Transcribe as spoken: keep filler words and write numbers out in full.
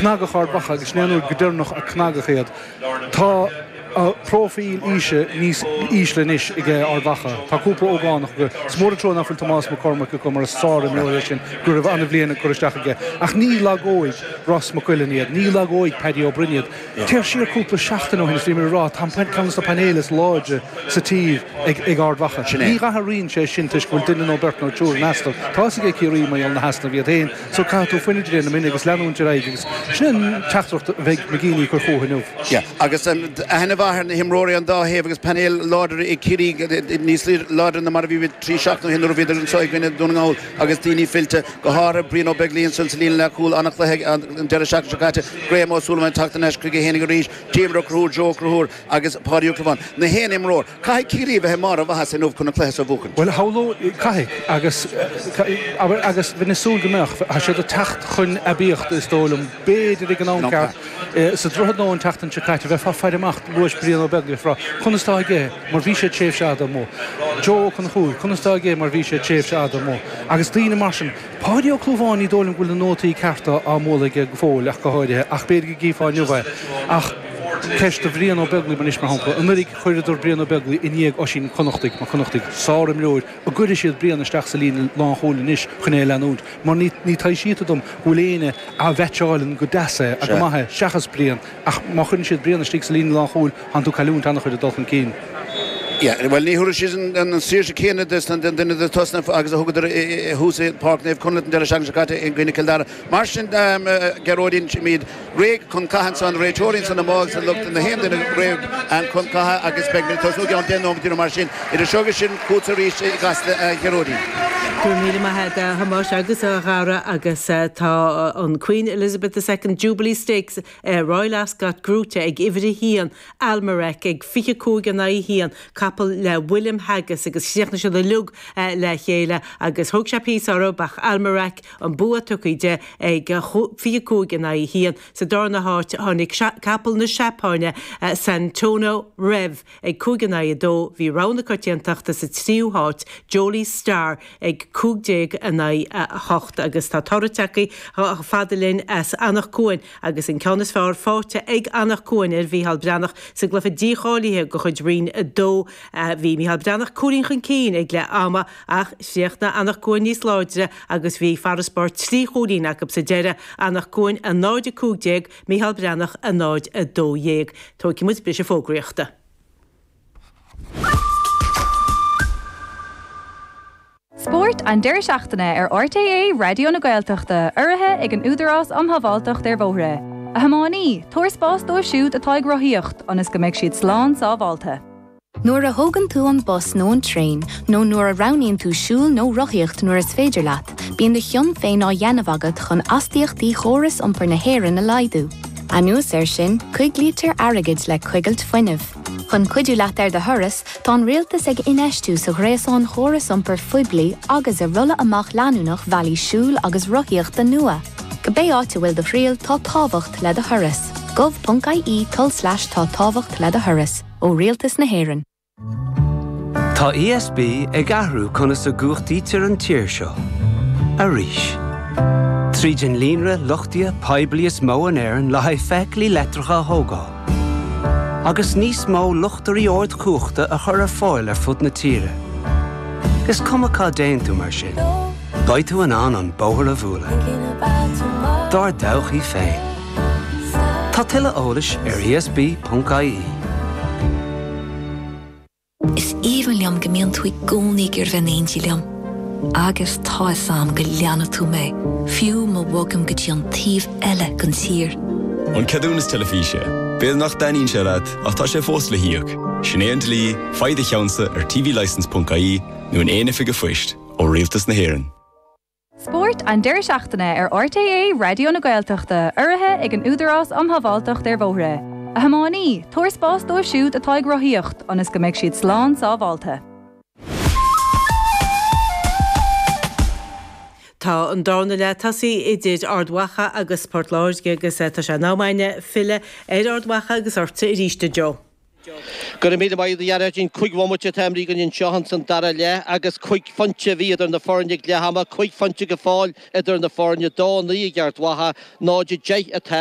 Cnagadh Ard Mhacha agus sin é an uair go deireanach a cnagadh iad. Tá próifíl aoise níos ísle anois ag Ard Mhacha. Tá cúpla ógánach acu. Is mór an trua nach bhfuil Tomás Mac Cormaic acu mar is sárimreoir é sin go raibh an-bhliain ag cur isteach aige. Ach ní lagóidh Ross McQuillan iad, ní lagóidh Paddy Ó Broin iad. Téir siar cúpla seachtain ó shin is bhí mé ag rá tá ceann de na painéil is láidre sa tír ag ag Ard Mhacha. Ní athraíonn sé sin toisc go bhfuil duine nó beirt nó triúr in easnamh. Tá a fhios ag Ciarraí mar gheall na heasnaimh iad féin, so caithfidh tú fuinneamh de réir na mine agus leanúint ar aghaidh agus sin an teachtaireacht a bheidh McGeeney ag cur chucu inniu. Yeah, agus aithne mhaith ar na himreoirí an dá thaobh agus painéal láidir ag Ciarraí níos láidre ná mar a bhí trí seachtaine ó shin nuair a bhíodar anseo i gcoinne Dún na nGall agus daoine fillte, go háirithe Brian Ó Beaglaoich ansan sa líne leathchúil, an-chluiche an deireadh seachtaine seo caite, Graham Ó Súilleabháin ag teacht thar n-ais chuige fhéinig arís, Diarmuid Ó Conchúir, Joe Ó Conchúir agus Páidí Ó Clúmháin. Na haon imreoir. Caithfidh Ciarraí a bheith i mbarr a mhaitheasa inniu chun an cluiche seo a bhuachan. Bhuel, shamhlódh, caithfidh, agus, abair, agus bheinn ag súil go mbeadh, tá siad ag teacht chun aibíochta is dóigh liom, b'fhéidir ag an am ceart, sa Droichead Nua an tseachtain seo caite, bheifeá ag faire amach, luais Brian Ó Beaglaoich, ag rá, conas tá aige mar bhí sé tréimhse fhada amuigh, Joe Ó Conchúir, conas tá aige mar bhí sé tréimhse fhada amuigh, agus daoine mar sin. Páidí Ó Clúmháin, ní dóigh liom go bhfuil na nótaí cearta á mbualadh aige go fóill ach go háirithe, ach b'fhéidir go gcífeá inniu é. Ach ceist do Bhrian Ó Beaglaoich anois, mar shampla, anuraidh chuireadar Brian Ó Beaglaoich i ndiaidh Oisín Connachtaigh, mar Connachtaigh, sárimreoir, an gcuirfidh siad Brian isteach sa líne lánchúil anois chun é a leanúint, mar ní ní taibhsítear dom go bhfuil éinne a mheaitseáileann go deas é, go maith é, seachas Brian. Ach má chuireann siad Brian istigh sa líne lánchúil, tánn tú ag cailliúint an-chuid ag dul chun cinn. Yeah, bhuel ní thabharfaidh siad an saoirse céanna don duine de tosna agus a thugadar thuas i Páirc Naomh Conleth an deireadh seachtaine seo caite i gcoinne Cill Dara. Mar sin, Gearóidín, táimid réidh chun catha ansan, réiteoirí ansan amuigh agus an lucht na haon duine réidh chun catha agus beidh muid ag tosnú i gceann deich nóiméad nó mar sin. Idir seo agus sin, chugatsa arís i gCasla, a Ghearóidín. Go raibh míle maith agat a Thomáis agus a Dhara agus tá an Queen Elizabeth the Second Jubilee Stakes Royal Ascot gnóthaithe ag uimhir a haon Almerac ag fiche cúig in aghaidh a haon, capall le William Haggas agus chríochnaigh siad uilig le chéile agus thóg sé píosa orthu ach Almerac an bua tugtha di ag fiche cúig in aghaidh a haon. Sa darna háit tháinig capall na Seapáine Santona Rev ag cúig in aghaidh a dó. Bhí rogha na coitiantachta sa tríú háit Jolie Star ag cúig déag in aghaidh a hocht agus tá toradh tagtha chomh fada linn as Anach Cuain agus an ceann is fearr faighte ag Anach Cuain ar Mhícheál Breathnach sa gcluiche dícháilithe de chuid Roinn a dó. Bhí Mícheál Breathnach cúilín chun cinn ag leath ama ach chríochnaigh Anach Cuain níos láidre agus bhí farasbarr trí chúilín acu sa deireadh, Anach Cuain a náid a cúig déag, Mícheál Breathnach a náid a dó dhéag. Tógfaidh muid briseadh fógraíochta. Spórt an deireadh seachtaine ar RTÉ Raidió na Gaeltachta, urraithe ag an Údarás um Shábháilteacht ar Bhóithre. A thiománaí, tabhair spás dóibh siúd atá ag rothaíocht, ionas go mbeidh siad slán sábháilte. Nuair a thógann tú an bus nó an traein, nó nuair a roghnaíonn tú siúl nó rothaíocht nuair is féidir leat, bíonn do chion féin á dhéanamh agat chun astaíochtaí chóras iompair na hÉireann a laghdú. Anuas air sin, coiglítear airgead le coigilt fuinnimh. Chun cuidiú leat ar do thuras, tá an rialtas ag infheistiú sa ghréasán chóras iompair phoiblí agus i rolladh amach leanúnach bealaí siúil agus rothaíochta nua. Cibé áit a bhfuil do thriall tá tábhacht le do thuras. gov.ie tulslais tá tábhacht le do thuras ó Rialtas na hÉireann. Tá ESB ag athrú conas a gcumhachtaítear an tír seo. Arís. Tríd an líonra luchtaithe poiblí is mó in Éirinn le haghaidh feithiclí leictreacha a thógáil. Agus níos mó luchtairí ardchumhachta a chur ar fáil ar fud na tíre. Is cuma cá dtéann tú mar sin. Beidh tú in ann an bóthar a bhualadh. Dár dtodhchaí féin. Tá tuilleadh eolais ar ESB.ie. Is aoibhinn liom go mbíonn tú i gcónaí ag iarraidh bheith in éindí liom. Agus tá a fhios agam go leanfaidh tú mé, fiú má bhogaim go dtí an taobh eile den tír. An ceadúnas teilifíse. B'fhéidir nach dtaitníonn sé leat ach tá sé fós le híoc. Sin é an dlí, faigh do cheannsa ar tvlicence.ie nó in aon oifig phoist ó Rialtas na hÉireann. Spórt an deireadh seachtaine ar RTÉ Raidió na Gaeltachta, urraithe ag an Údarás um Shábháilteacht ar Bhóithre. A thiománaí, tabhair spás dóibh siúd atá ag rothaíocht, ionas go mbeidh siad slán sábháilte. Tá an darna leath tosaithe idir Ard Mhacha agus Port Láirge agus tá sé in am againne filleadh ar Ard Mhacha agus ortsa arís a Joe. Go raibh míle maith agat a Ghearóidín. Cúig bhomaite atá imeartha againn anseo ins an dara leath agus cúig phointe a bhí idir na foirne ag leath ama, cúig phointe go fóill idir na foirne, dó naoi ag Ard Mhacha, náid a deich atá